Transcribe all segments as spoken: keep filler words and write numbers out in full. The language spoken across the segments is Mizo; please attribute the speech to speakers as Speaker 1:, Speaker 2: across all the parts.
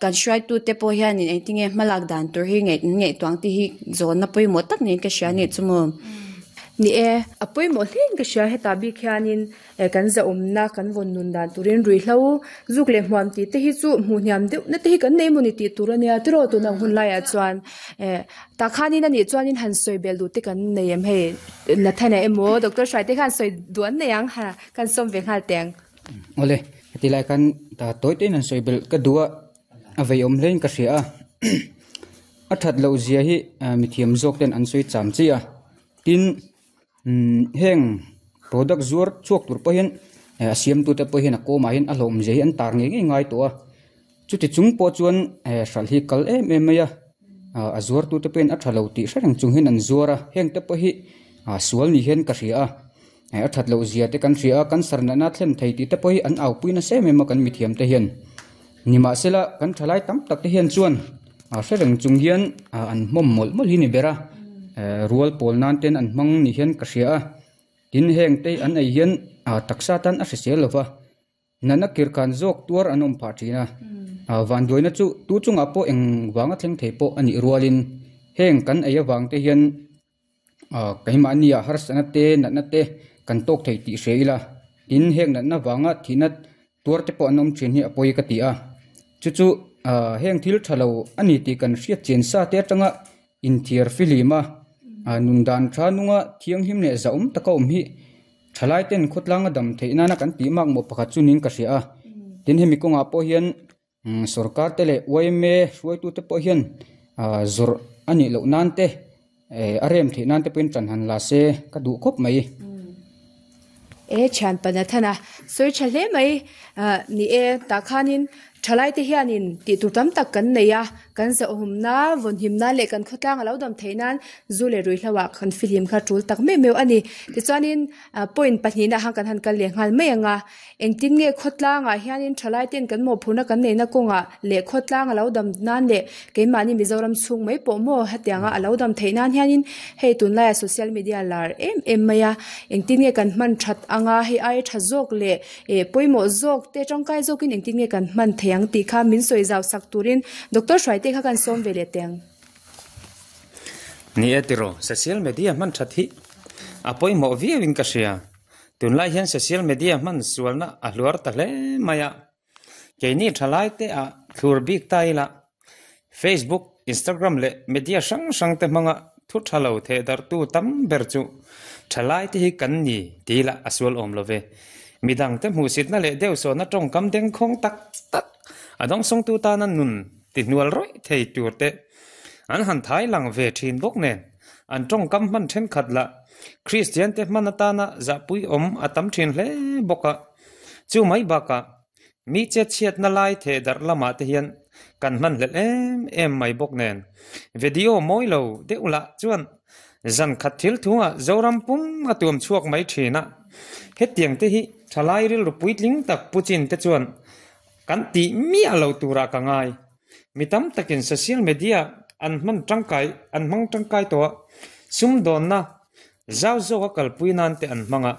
Speaker 1: Kan hruaitute pawh hianin engtinge hmalak dan tur hi ngaih ngaihtuah te hi zawnna pawimawh tak niin ka hria a nih chu maw.
Speaker 2: Ni e, a pawimawh hlein ka hria hetah bik hianin kan zahawmna kan vawn nun dan turin ruihhlo zuk leh hmuam tih te hi chu hmuh hniam deuh na te hi kan nei emaw ni tih tur ania tiraw tun ang hun laiah chuan eh tah khanin anih chuanin han sawi bel duh te kan nei em hei Nathana emaw Doctor Hruaite khan sawi duh an nei ang ha kan sawm ve nghal teng.
Speaker 3: Awle heti lai khan tawi tein han sawi belh ka duh a a vei awm hlein ka hria a a that loh zia hi mithiam zawk ten an sawi cham chi a tin umm heng product zuar chhuak tur pawh hian a siamtu te pawh hian a kawmah hian a hlawm zia hi an tar ngei ngei ngai tawh a chuti chung pawh chuan hralh hi kal em em mai a a zuartu te pawhin a tha lo tih hre reng chung hian an zuar a heng te pawh hi sual ni hian ka hria a a that loh zia te kan hria a cancer natna thlen thei tih te pawh hi an au pui nasa em em a kan mithiam te hian nimahsela kan thalai tam tak te hian chuan hre reng chung hian an hmawm mawlh mawlh hi ni ber a rual pawl nan ten an hmang ni hian ka hria a tin heng te an ei hian taksa tan a hrisel lova natna kirkhan zawk tuar an awm phah thin a vanduaina chu tu chungah pawh eng vanga thleng thei pawh anih rualin heng kan ei avang te hian keimahni ah harsatna te natna te kan tawk thei tih hria ila tin heng natna vanga thihna tuar te pawh an awm thin hi a pawi ka ti a chu chu heng thil tha lo ani tih kan hriat chian sa te atanga inthiar filim a nun dan tha nunga thianghlim leh zahawm taka awm hi thalai ten khawtlang a dam theih nana kan tih mak mawh pakhat chu niin ka hria a tin hemi kawngah pawh hian sorkar te leh Y M A hruaitu te pawh hian zawrh anih loh nan te a rem theih nan te pawhin tan han la se ka duh khawp mai.
Speaker 2: E thian pa Nathana sawi tha hle mai ni e tah khanin thalai te hianin tih tur tam tak kan nei a kan zahawmna vawnhimna leh kan khawtlang a lo dam theih nan zu leh ruihhlo ah kan fihlim kha tul tak meuh meuh ani tichuanin point pahnih na ah kan han kal leh nghal mai anga engtin nge khawtlangah hianin thalai ten kan mawhphurhna kan neihna kawngah leh khawtlang a lo dam nan leh keimahni Mizoram chhung mai pawh maw hetianga a lo dam theih nan hianin hei tunlaiah social media lar em em mai a engtin nge kan hman that anga hei aia tha zawk leh eh pawimawh zawk te tangkai zawkin engtin nge kan hman thei ang tih kha min sawi zau sak turin Doctor Hruaite kha kan sawm ve leh teng.
Speaker 4: Ni e tiraw social media hman that hi a pawimawh viauin ka hria tunlai hian social media hman sualna a hluar ta hle mai a keini thalai te ah thlur bik ta ila Facebook Instagram leh media hrang hrang te hmanga thu tha lo theh darh tu tam ber chu thalai te hi kan ni tih ila a sual awm love midang te hmuhsitna leh deuh sawhna tawngkam dengkhawng tak tak a dawngsawngtu tana nun ti hnual rawih thei tur te an han thai lang ve thin bawk nen an tawngkam hman thenkhat lah Kristian te hman atana zahpui awm a tam thin hle bawk a chu mai bakah mi chetchhiatna lai theh darh lamah te hian kan hman hlelh em em mai bawk nen video mawi lo deuh lah chuan zan khat thil thungah Zoram pum a tuam chhuak mai thin a hetiang te hi thalai rilru puitling tak pu chin te chuan kan tih miah lo turah ka ngai mi tam takin social media an hman tangkai an hmang tangkai tawh a sumdawnna zau zawk a kalpui nan te an hmang a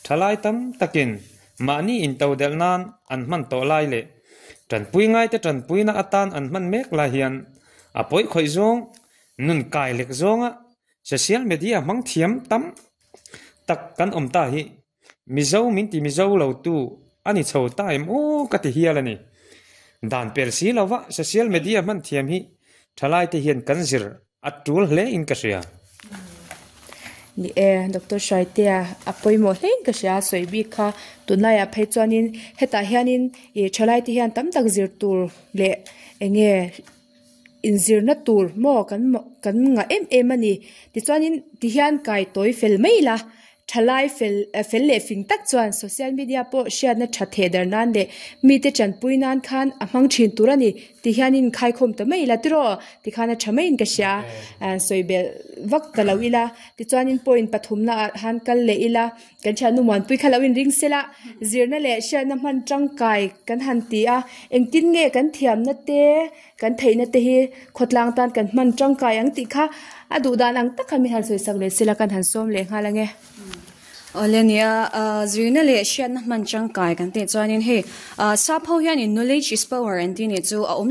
Speaker 4: thalai tam takin mahni intodelh nan an hman tawh lai leh tanpui ngai te tanpuina atan an hman mek lai hian a pawi khawih zawng nun kai lek zawnga social media hmang thiam tam tak kan awm ta hi Mizo min ti Mizo lo tu ani chho ta em aw ka ti hial ani dan pel si lova social media hman thiam hi thalai te hian kan zir a tul hle in ka hria.
Speaker 2: Ni e Doctor Hruaitea a pawimawh hlein ka hria sawi bik kha tunlaiah phei chuanin hetah hianin ih thalai te hian tam tak zir tur leh enge inzirna tur maw kan kan ngah em em ani tichuanin tihian kai tawi fel mai ila thalai fel fel leh fing tak chuan social media pawh hriatna tha theh dar nan leh mite tanpui nan khan a hmang thin tur ani tihianin khaikhawm ta mai ila tiraw tikhan a tha maiin ka hria sawi belh vak ta lo ila tichuanin point pathumna ah han kal leh ila kan thiannu muanpui kha lo inring sela zirna leh hriatna hman tangkai kan han ti a engtin nge kan thiamna te kan theihna te hi khawtlang tan kan hman tangkai ang tih kha a duh dan ang tak khan min han sawi sak leh sela kan han sawm leh nghal ange.
Speaker 1: Olenia zirna le hriatna hman tangkai kan tih chuanin hei sap ho hianin knowledge is power an tih ni chu a awm.